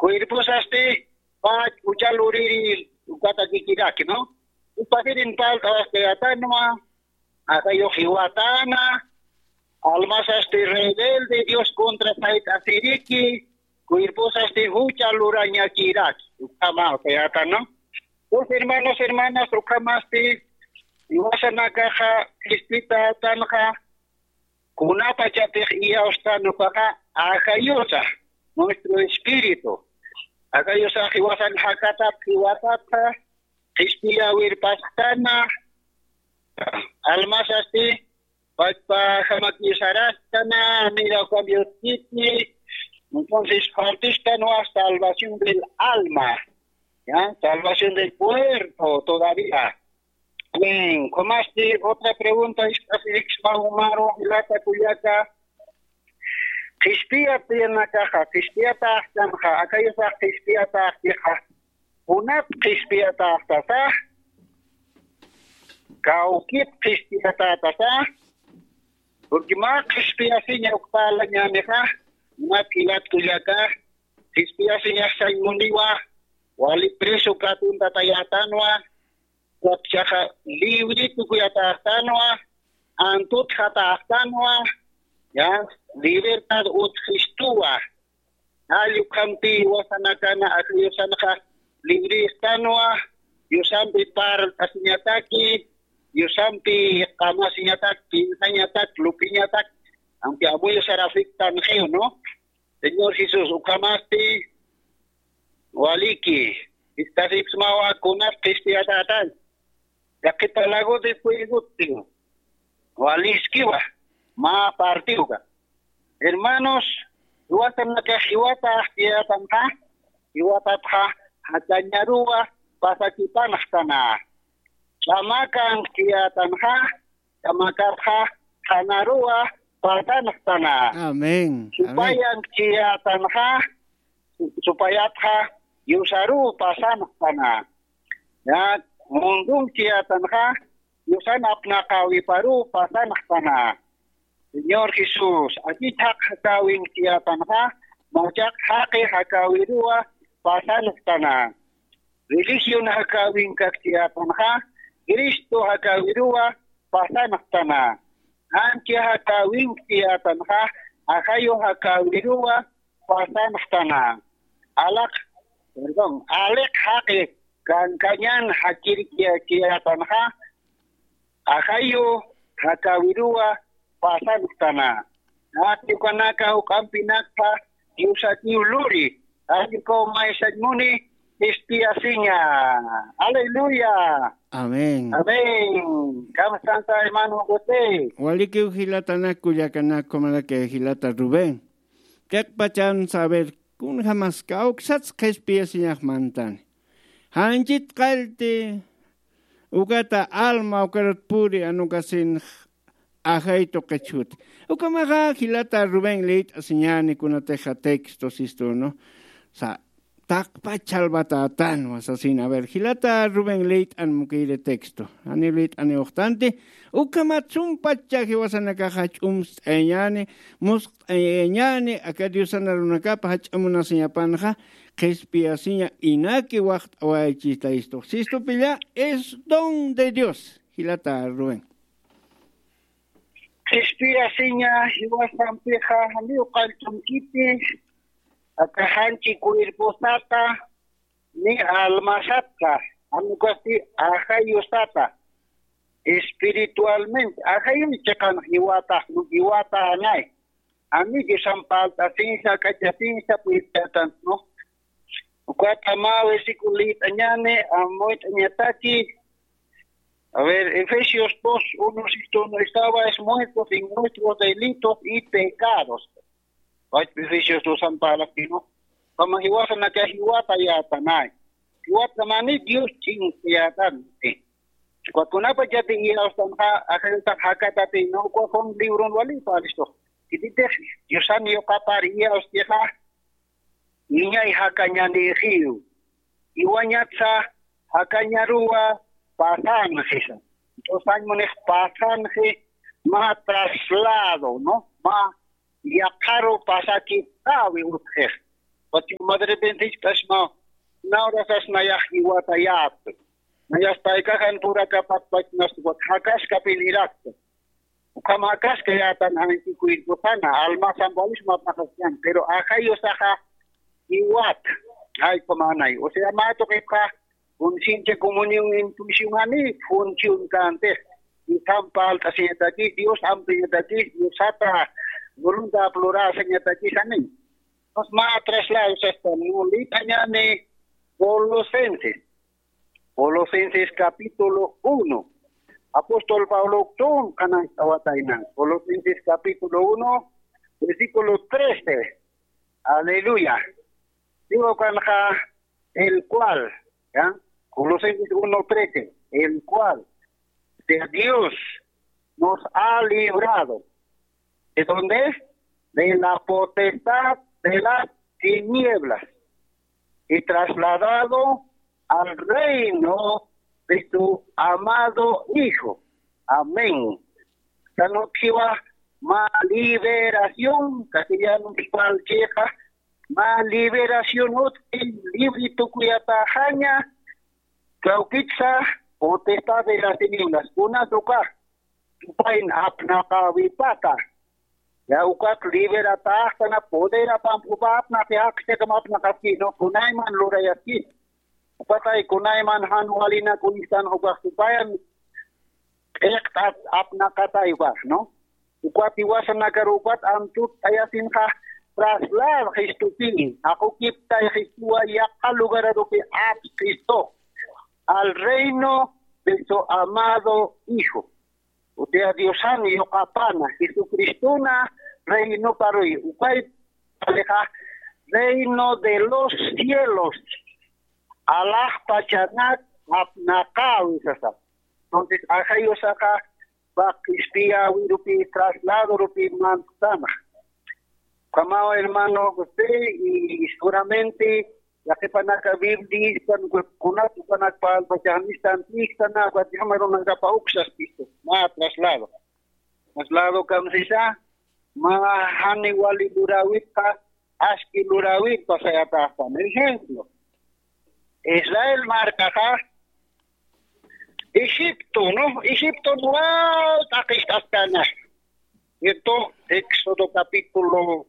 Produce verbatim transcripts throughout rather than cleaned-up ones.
Cuerposasti pach uchal uriri ukatakikiraki, ¿no? Upakirin palta waskayatanwa, akayux jiwatana, almasasti rebelde Dios contra sayt'asiriki, cuerposasti jucha lurañakiraki, ukhama ukhayata, ¿no? Pues, hermanos, hermanas, ukhamasti iwasanakaxa qhispitätanxa, kunapachatix iyawstan ukaxa, ajayusa, nuestro espíritu. Ajayusax iwasan jakatat jiwatatxa, qhispiyäwir pasktana, almasasti, pachpa jamakisarastana, mira, cambio titi. Entonces, partistan wa salvación del alma, ¿ya? Salvación del cuerpo todavía. Bien, ¿cómo así? Otra pregunta, es así, umaru, jilata kullaka. Qhispiyat tiyanakaxa, qhispiyataxtanxa, akayusax qhispiyataxtixa. Kunat qhispiyataxtasa, kawkit qhispiyatatasa, porque mä qhispiyasiña ukpalañanixa, kunat jilat kullaka, qhispiyasiñax sañmuniwa, wali preso katuntatayätanwa, ukapchaxa libre tukuyatäxtanwa, antutxatäxtanwa, ya, libertad utjistuwa. Jall ukhampi iwasanakana ajayusanxa libre istanwa, yusampi parlt'asiñataki, yusampi qamasiñatak, pinsañatak, lupiñatak, aunque amuyusar afectanxiw, ¿no? Señor Jesús, ukhamasti, waliki, istasipsmawa kunas qhispiyatatan. Yaqhita lago de fuegotin. Waliskiwa, mä partiwka. Hermanos, jiwatanaka jiwata jiwatanxa, jiwatatxa, jakañaruwa, pasakipanxtana. Ch'amakan jiwatanxa, ch'amakatxa, qhanaruwa, pasanxtana. Amén. Amén. Supayan jiwatanxa, supayatxa, yusaruw pasanxtana. Ya, mundun jiwatanxa, yusan apnaqawiparuw pasanxtana. Señor Jesús, akit jaq jakäwin jiwatanxa, machaq jaqi jakäwiruwa pasanxtana. Religión jakäwin kak jiwatanxa, Cristo jakäwiruwa pasanxtana. Ancha jakäwin jiwatanxa, ajayu jakäwiruwa pasanxtana. Alaq, perdón, aliq jaqi kankañan jakirkiyatanxa, ajayu jakäwiruwa pasanxtana. Atikanaka juk'ampinakxa, Diosatiw luri, allikuw maysañ muni, qhispiyasiña. Aleluya. Amén. Amén. Kamsanta, hermano José. Walikiw jilatanak kullakanak, kumanaka jilata Rubén. Kaqpachan saber, kunjamas kawksats qhispiyasiñax mantani. Janchit qallti, ukata alma, ukarat puri, anukasin ajay tuqichhuti. Ukamaxa jilata Rubén liyt'asiñani kunatixa texto sistu, ¿no? Sa, taqpach chalbatätanwa sasin. A ver, jilata Rubén liyt'an mukiri texto. Janiw liyt'aniw uxtanti, ukhamat sumpacha jiwasanakaxa jach'umst'ayañani, musqt'ayañani, aka Diosan arunakapa jach'a munasiñapanxa, qhispiyasiña inaki waxt'awaychista istu. Sistu pilla, es don de Dios. Jilata Rubén. Qhispiyasiña jiwasampixa janiw qalltunkiti, aka janchi cuerposata, ni almasata, anukasti ajayusata, espiritualmente, ajayuy chiqan jiwata, jiwata anay. Ani Diosan palt'asinsa, k'achasinsa, puyt'atan, ¿no? Ukat mä versículo liyt'añani, amuyt'añataki. A ver, Efesios dos, uno, sistu, no estabais muertos en nuestros delitos y pecados. Pach Efesios dos, amparaki, ¿no? Kama jiwasanaka jiwata yatanay. Jiwata mani Dios chinkayatanti. Kunapachati iyawstanxa, ajayuta jakatati, ¿no? Ukwa Juan libron wali palistu. Kititix Diosan yuqapar iyawstixa, niñay jakañanixiw. Iwañatsa jakañaruwa pasanxisa. Entonces, munix pasanxi, mä traslado, ¿no? Mä yaqharu pasakipxäwi utjix. Pachu madrepente ichp'asma, nawrasas nayax iwatayäta. Nayas paykaxan purakapatpachnas, jakaskapinirakta. Ukham jakaskayätan anchikuyrkusana, almasan walisma paqaskan, pero ajayusaxa iwat, jayp'amanay. O sea, mä tuqipxa conciencia comunión intuición ani función kantix. Ukham palt'asiñataki, Dios amtuñataki, Diosata voluntad plurasañataki sani. Entonces, mä traslado sasta, no, litañani Colosenses. Colosenses capítulo uno. Apóstol Pablo tun kanan tawataynan. Colosenses capítulo uno, versículo trece. Aleluya. Digo kanxa, el cual, ¿ya? Colosenses uno trece, el cual de Dios nos ha librado. ¿De dónde? De la potestad de las tinieblas y trasladado al reino de su amado Hijo. Amén. Sanukxiwa ma liberación, castellano, palcheja, ma liberación utqi, libre tukuyatäxaña, kawkitsa potestad de las tinieblas, kunas ukax, tupayn apnaqäwipata. Ya ukat liberatäxtana, poder apampupa, apnaqi jakchakam apnaqaski, ¿no? Kunayman lurayaski. Ukatay kunayman jan walinak uñstan ukax tupayan, q'iqt'at apnaqatay ukax, ¿no? Ukat jiwasanakar ukat amtut t'ayasinxa traslad Jesucristo, jaqukiptay Jesucristo yaqha lugararupi apsqistu, al reino de su amado Hijo. O sea, Diosan yuqapana, Jesucristona reinoparuy, ukay palixa reino de los cielos, alaxpachanak apnaqäwi sasa. Entonces, ajayusaxa, paq ispiyawirupi, trasladorupi mantsana. Kamaw hermano José, y seguramente, yaqhipanaka Biblia, kunat, kunak palpachanistan, istana, ukat llama runakapa uksaspistu, ma traslado. Traslado kamsisa, ma jani wali luräwitqa, aski luräwit pasayataxtan. Ejemplo, Israel markaxa, Egipto, ¿no? Egipto wal t'aqist'askana. Esto, Éxodo capítulo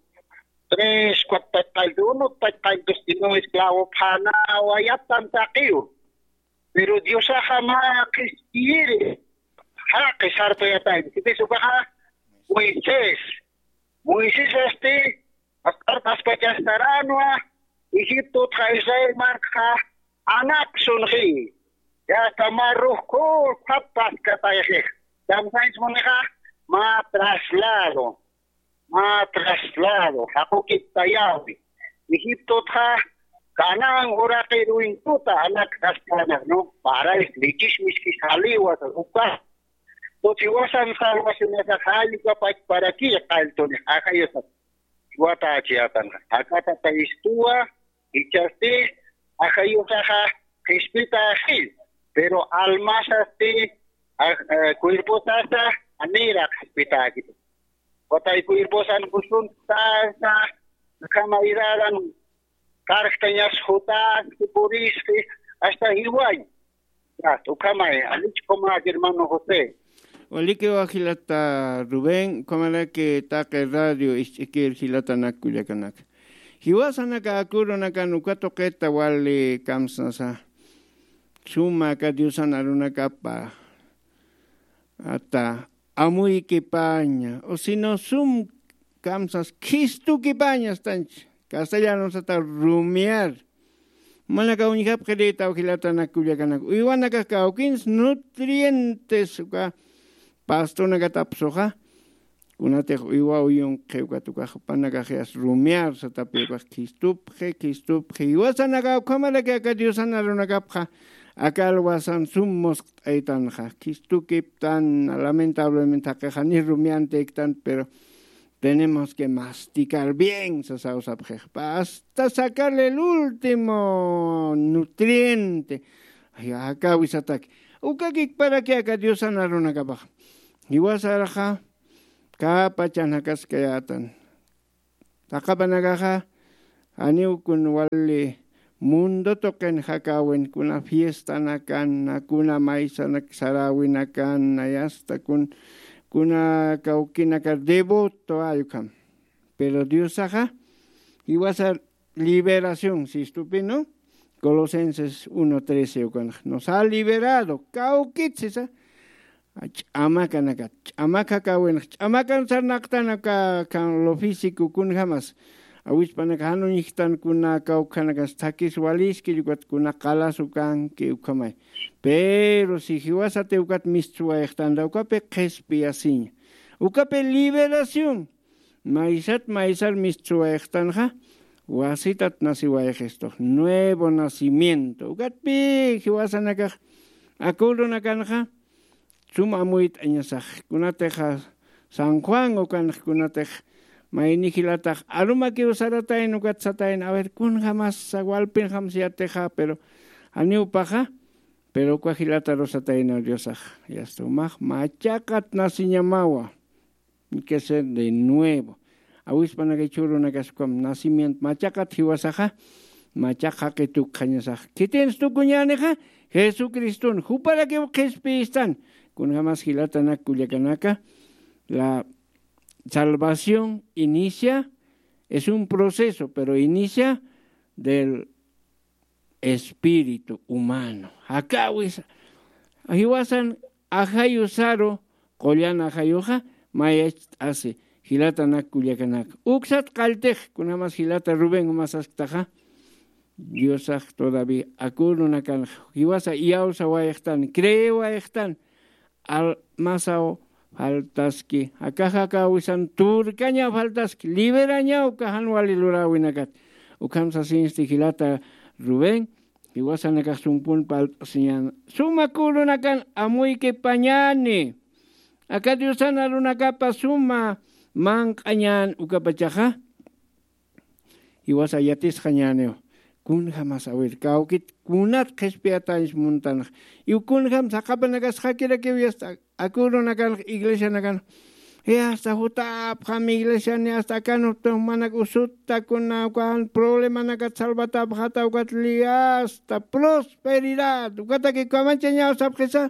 tres, cuatro, pachqalltu uno, pachqalltu sino esclavo phana wayatan taqiw. Pero Diosaxa ma qhispiyiri, jaqi sartayatayna. Sipis ukaxa Moisés. Moisés asti, Asq'arpaspachastaranwa, Egiptotxa Israel markxa anapsunxi. Yasta ma rujku, phapaskatayxix. Kamsañs munixa, ma traslado, ma traslado, jaqukiptayawi. Egiptotxa Canaán uraqir uñkuta anaktaskana, ¿no? Parais, lichis, miskis, jaliwas, uka. Tuchiwasan salvacionasa jallukapach para ki, qalltunix, ajayusa. Wata achiyatan. Akata taistuwa, ichasti, ajayusaxa, qhispita ajil. Pero almasasti, aj-, eh, cuerposasa, anira qhispita akita. Watay cuerposan kusun tasa, kama idaran, karxtañas jutas, purisqi, hasta jiwañ. Ukhamay, alichkumak hermano José. Walikiwa jilata Rubén, ukhamaraki taqi radio isch'ikir jilatanak kullakanaka. Jiwasanaka akurunakan uka tuqita wali kamsnasa. Suma aka Diosan arunakapa. Ata amuykipaña, o sino sum kamsas khistukipaña astanch. Castellano sata rumiar. Manaka uñjapxirita ujilatanakullakanak. Uywanakax kawkins nutrientes uka pastonakatapsuxa. Kunatix uywa uyunqi ukat ukax panakaxyas rumiar satapi ukax khistupxi, khistupxi. Uywasanaka ukhamaraki aka Diosan arunakapxa. Aka alwasan sum musqt'aytanxa. Khistukiptan, lamentablemente jaqixani rumiantiktan, pero tenemos que masticar bien, sasaw sapxixpa, hasta sacarle el último nutriente. Ay, akawisatak. Ukakikparaki aka Diosan arunakapax. Jiwasaraxa, kapachan jakaskayätan. Taqapanakaxa, Janiw kun wali mundo tuqin jakäwin, kuna fiestanakan, kuna maysanak saräwinakan, nayasta kun, kuna kawkinaka devoto ay ukham. Pero Diosaxa jiwasa liberación, sistupinu, Colosenses uno trece ukanxa. Nos ha liberado, kawkit sisa. Ch'amakanakat, ch'amakakawinx, ch'amakan sarnaqtanaka, kan lo físico kunjamas. Awispanak jan uñjtan kuna kawkhanakas thakis waliski, ukat kuna qalasu kanki ukhamay. Pero si jiwasati ukat mistsuwayxtanta, ukapi qhispiyasiña. Ukapi liberación. Maysat maysar mistsuwayxtanxa, wasitat nasiwayxistux, nuevo nacimiento. Ukatpi jiwasanakax, acuerdonakanxa, sum amuyt'añasax, kunatixa San Juan ukanx, kunatix mayni jilatax arumakiw saratayn, ukat satayn, a ver, kunjamasa, walpinjamsa yatixa, pero janiw paxa, pero uka jilata rusatayna Diosax, yasta umax machaqat nasiñamawa. Hay que ser de nuevo. Awispanaka jichhürunakas ukham nacimiento machaqat jiwasaxa, machaq jaqi tukxañasax. Khitinsa tukuñänixa, Jesucriston, juparakiw qhispiyistan. Kunjamas jilatanak kullakanaka, la salvación inicia, es un proceso, pero inicia del espíritu humano. Jakäwisa, jiwasan ajayu saru, qullan ajayuxa, mayacht'asi, jilatanak kullakanaka. Uksat qalltix, kunjamas jilata Rubén umasasktaxa, Diosax todavía acuerdonakanxa, jiwasa iyawsawayxtan, creewayxtan, al masaw faltaski, akaxa akäwisan turkaña faltaski, liberañaw uka jan wali luräwinakat. Ukham sasinsti jilata Rubén, jiwasanakax sumpun palt'asiñan, suma kurunakan amuykipañani. Aka Diosan arunakapa suma manq'añan ukapachaxa. Jiwasa yatisxañäniw. Kunjamas, a ver, kawkit kunat qhispiyatañs muntanx. Iw kunjam saqapanakas jakirakiw yasta acuerdonakanx iglesianakan. Yasta jutapxam iglesiani, hasta akan jumanak usuta kuna ukan problemanakat salvatapxata ukat li hasta prosperidad. Ukataki kamanchañaw sapxisa.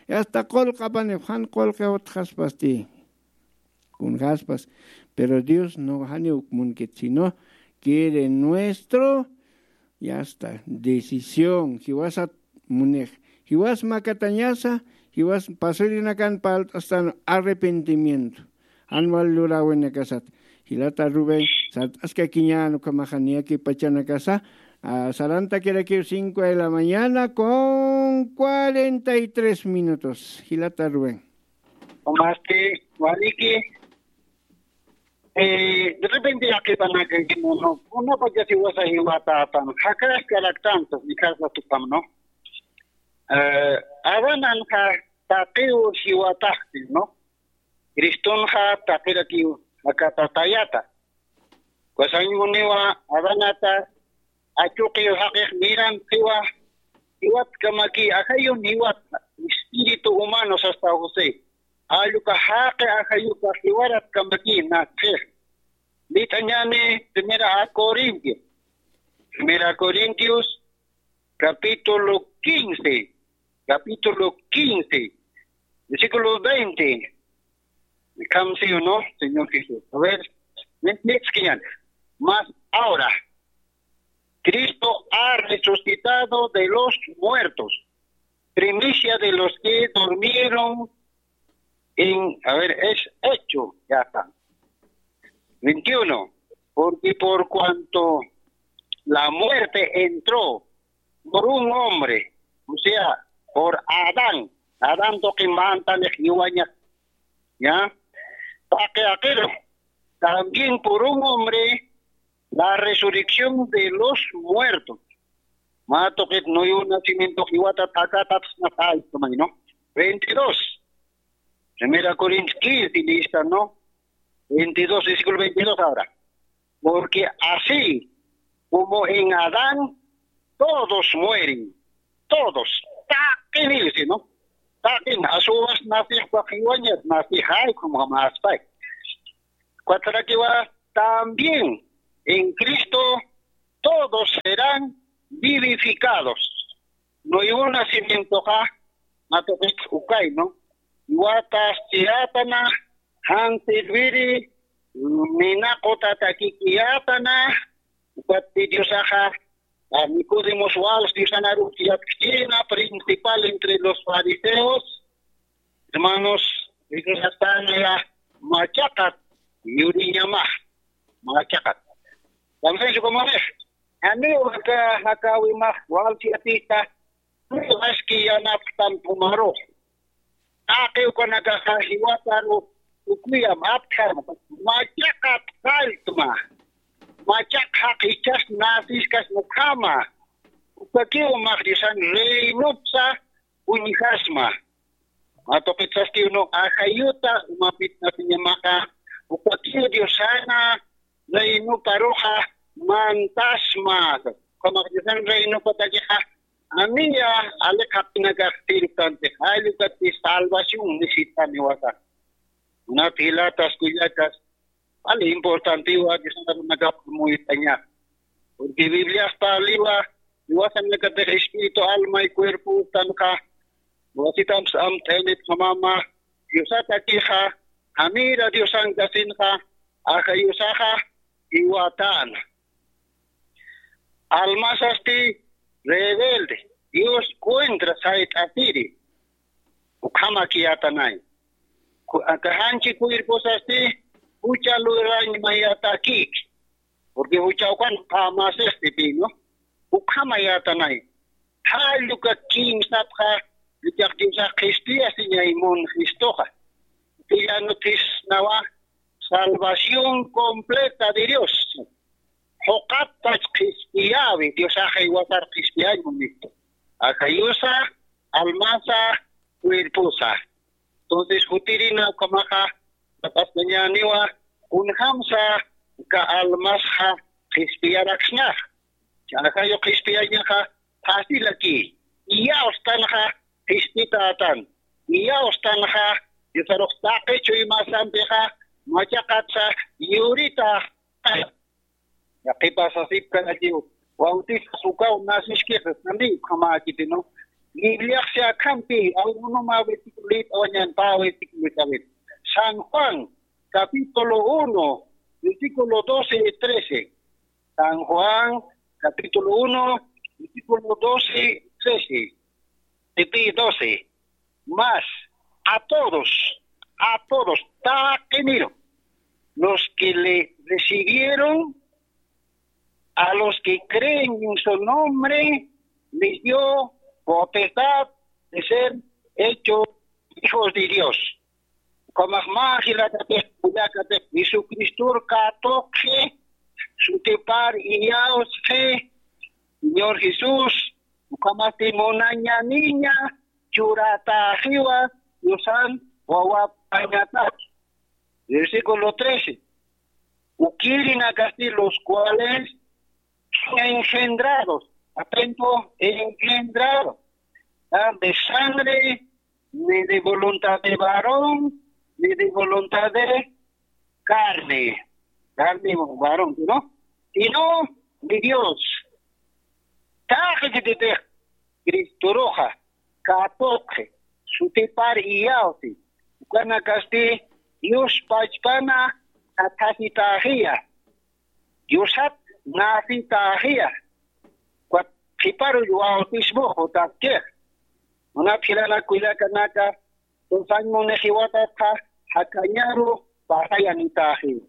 Yasta qullqapani, jan qullqi utxaspasti. Kunjaspas. Pero Dios no janiw munkit, sino quiere nuestro, ya está, decisión. Jiwasat munix. Jiwas makatañasa, jiwas pasirinakan palt'astan arrepentimiento. Jan wal luräwinakasat. Jilata Rubén, sart'askakiñän ukhamaxa niyakipachanakasa, ah, sarantakirakiw cinco de la mañana con cuarenta y tres minutos. Jilata Rubén. Masti, waliki, eh, de repente yaqhipanakankimunu, kunapachasi wasa jiwatatan, jakaskaraktantu, mi casa tupamno. Eh, Adananxa taqiw jiwataxti, ¿no? Cristonxa taqirakiw jakatatayata. Wasañmuniwa Adanata, achuqiw jaqix miran qiwa, jiwatkamaki ajayun jiwat, espíritu humano sasta José. Alluka jaqi ajayuka jiwaratkamaki naqix. Lit'añani Primera a Corintios. Primera Corintios, capítulo quince, capítulo quince, versículo veinte. Come, ¿sí o no, Señor Jesús? A ver, mi- mi- escriban. Mas ahora, Cristo ha resucitado de los muertos, primicia de los que durmieron en, a ver, es hecho, ya está. Veintiuno, porque por cuanto la muerte entró por un hombre, o sea, por Adán. Adán tuqi mantanix jiwaña, ¿ya? Taqi aqiru, también por un hombre, la resurrección de los muertos. Mä tuqit nuevo nacimiento jiwata taqatat, ¿no? Veintidós. Primera Corintios quince, lista, ¿no? Veintidós, versículo veintidós ahora. Porque así como en Adán todos mueren, todos, taqin, ¿no? Taqin, asuwas nasix waqiwañat, nasix ay, como jamás pay. Cuatro que va también en Cristo todos serán vivificados. Nuevo nacimientoxa, matoqit ukayno, iwatas chiyatana, jan sirviri, minaqutatakikiyatana, ukatpi Diosaxa, a Nicodemos wals Diosanaru yatkchina, principal entre los fariseos, hermanos, Diosastana ya machaqat, yuriñamax, machaqat. También su comunidad. Ani waka jakawimax wal fiatita, maski yanapxtan pumaru. Taqi ukanakaxa jiwataru ukuyam apthan, machaqat qalltma. Machaq jaq ichas nasiskas ukhama. Ukakiw max Diosan reinopsa uñjasma. Matuqit sastiw no ajayuta umapit nasiñamaxa, ukakiw Diosana reinoparuxa mantasma. Ukhamax Diosan reinopatakixa, amiya aliqapinakax tirpantix, jall ukatpi salvación necesitaniwasa. Munat jilatas kullakas, vale importantiwa Diosanakap muyt'aña. Porque Biblias parliwa, iwasanakatix espíritu, alma y cuerpo tanqa, iwasitamps amt'aynit jamama, Diosatakixa, jamira Diosankasinxa, ajayusaxa, iwatan. Almasasti rebelde, Dios contra sayt'asiri. Ukhama kiyatanay. Ku-, akajanchi cuerposasti, jucha lurañ mayatakik. Porque jucha ukan pamasesti pino. Ukhama yatanay. Jalluka kimsapxa, lichaq Diosax qhispiyasiñay mun Cristoxa. Tillanu thisnawa, salvación completa de Dios. Juqatpach qhispiyawi, Diosaxa iwasar qhispiyañu nitu. Ajayusa, almasa, cuerposa. Entonces, jutirina ukhamaxa, tapasnañaniwa, kunjamsa, ka almasxa, qhispiyaraksnax. Chajayu qhispiyañaxa, fácil aquí. Iyawstanxa, qhispitatan. Iyawstanxa, Diosarux taqi chuymasampixa, machaqatsa, yurita. Yaqhipa sasipkanachiw, bautizas ukaw nasiskix, sani ukhamäkiti, ¿no? Bibliaxsi akhampi, awrunuma versículo lit awañan pa versículo lit awit. San Juan, capítulo uno, versículo doce y trece. San Juan, capítulo uno, versículo doce y trece. Sipi doce. Mas a todos, a todos, taqiniru, los que le recibieron, a los que creen en su nombre, les dio potestad de ser hechos hijos de Dios. Ukhamax mä jilatatix, kullakatix, Jesucristor katuqxi, sutipar iyawsxi, Señor Jesús, ukhamasti munañaniña, churataxiwa, Diosan wawapañataki. Versículo trece. Ukirinakasti los cuales son engendrados, atento, engendrados, ah, de sangre, ni de voluntad de varón, ni de voluntad de carne, carne varón, ¿no? Sino de Dios. Taqi kititix Cristoruxa, katuqxi, sutipar iyawsi, ukanakasti Dios pachpana sathasitaxiya. Diosat nasitaxiya. Ukat qhiparu bautismo jutatkixa. Munat jilanak kullakanaka, tusañ munixiwatatxa, jakañaru pasayanitaxiwa.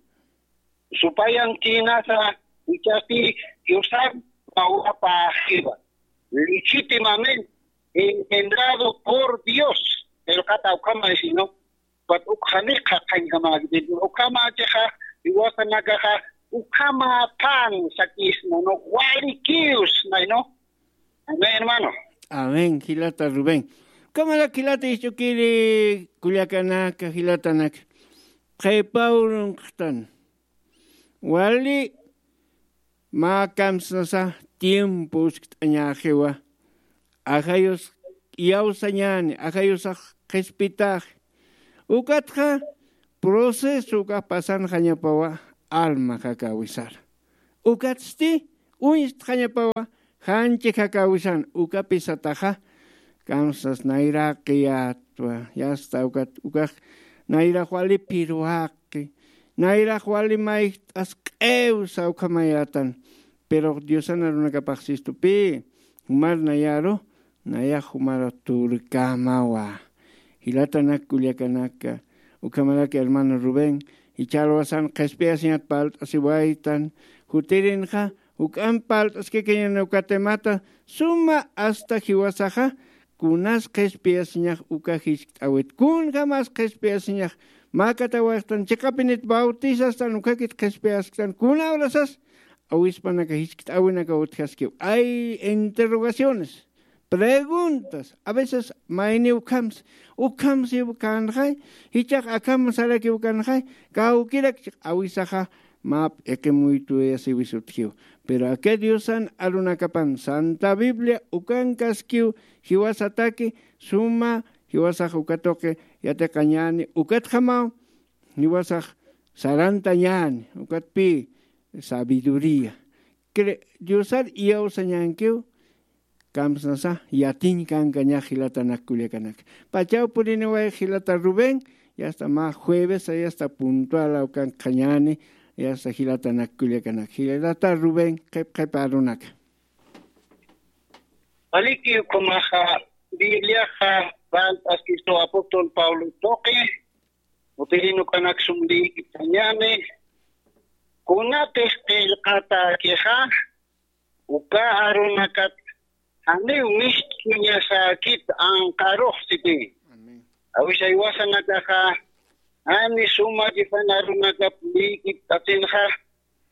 Supayan chinasa, ichasti Diosan wawapaxiwa. Legítimamente engendrado por Dios. Qillqata ukhama sino, pat ukhaniqa qhañjamäkiti, ukhamachixa, iwasanakaxa, ukhama pan sakisna, ¿no? Walikiws, ¿no? Amén, hermano. Amén, jilata Rubén. Ukhamarak jilata isch'ukiri kullakanaka, jilatanaka. Qhipaw runqtan. Wali mä kamsnasa tiempo uskt'añäxiwa. Ajayus iyawsañäni, ajayusax qhispitaxi. Ukatxa proceso ukax pasanxañapawa alma jakawisara. Ukatsti uñstxañapawa, janchi jakawisan ukapisataxa. Kamsas nayraqi yatwa yasta ukat ukax nayrax wali pirwaqi, nayrax wali mayjt'as q'ewsa ukhamayatan. Pero diosan arunakapax sistupi jumar nayaru, nayax jumara turkamawa. Jilatanak kullakanaka, ukhamaraki hermano Rubén, jichha alwasan qhispiyasiñat palt'asiwaytan. Jutirinxa juk'amp palt'askakañan uka temata, suma asta jiwasaxa kunas qhispiyasiñax uka jiskt'awit, kunjamas qhispiyasiñax makatawayxtan chiqapinit bautisastan ukhakit qhispiyasktan kunawrasas awispanaka jiskt'awinaka utjaskiw. Ay interrogaciones, preguntas, a veces mayni ukhamsi ukhamsi ukanxay, jichax akham sarakiw kanxay, kawkirak chiq awisaxa map iqimuytuyasiwisutjiw. Pero aka diosan arunakapan santa biblia ukankaskiw, jiwasataki suma jiwasax ukatuqi yatiqañani ukatxamaw jiwasax sarantañani ukatpi sabiduría. Diosar iyawsañankiw. Kamsnasa yatiñ kankañax jilatanak kullakanak. Pachaw puriniway jilata Rubén, yasta mä jueves yasta puntualaw kankxañani. Yasta jilatanak kullakanak jilata Rubén qhip qhip arunaka. Aliki ukhumaxa bibliaxa palt'askistu apóstol pablo tuqi. Utirinukanak sumlïkitañani. Kunatix qillqatakixa uka arunakat janiw mist'uñasäkit anqarux sipi. Awisaywasanakaxa jani suma jipan arunakap lïkipt'atinxa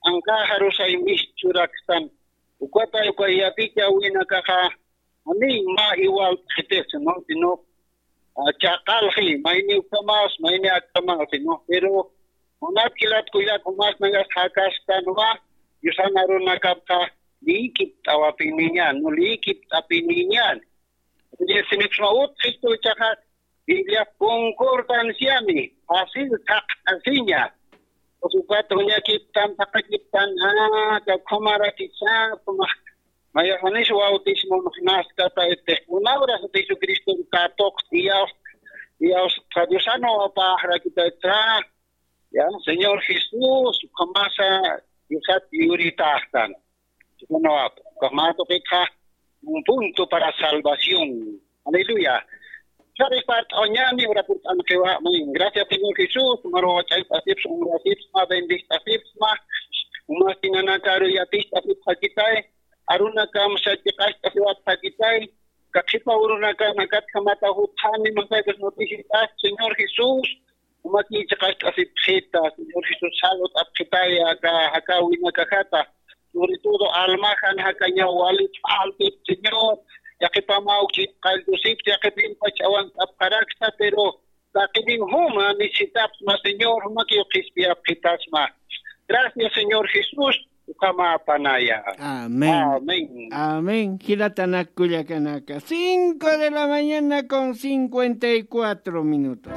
anqaxarusay mist'uraktan. Ukatay uka yatichawinakaxa janiy mä iwalt'xitis no sino chaqalxi mayni ukhamas mayni akhamas sino pero munat jilat kullak umas nagas jakastanwa. Yusan arunakapxa lïkipt'awapiniñan no lïkipt'apiniñan. Simiksma utjistu ichaxa biblia concordanciami fácil thaqt'asiña. Usukat uñakiptan thaqakiptan kakhumarakisapma. Mayaxanis bautismo naskata este una hora jesucristo katoq iyaus iyaus. Diosano apaxrakita. Ya señor jesús kamasa yusat yuritaxtan. Diosano apa kamasa pitxa un punto para salvación. Aleluya. Sabes part oñani ora purt'an qewa. Gracias señor jesús maro ch'ayt'asipsma bendist'asipsma. Umas tinanakaru yatist'asipxakitay. Arunakam sachiqast'asiwapxakitay. Kakhipa urunakanakat kamata jutxani masaykas noticitas señor jesús. Umakiy chiqast'asipxita señor jesús salud apxitaya aka jakawinakajata. Sobre todo almajan jakañaw wali ch'altip señor. Yaqipamaw ch'altusipti yaqipimpa ch'awant'apxarakta pero taqiniw juma necesitapsma señor jumakiw qhispiyapxitasma. Gracias señor jesús. Ukhamapanaya. Amén. Amén. Amén jilatanak kullakanaka cinco de la mañana con cincuenta y cuatro minutos.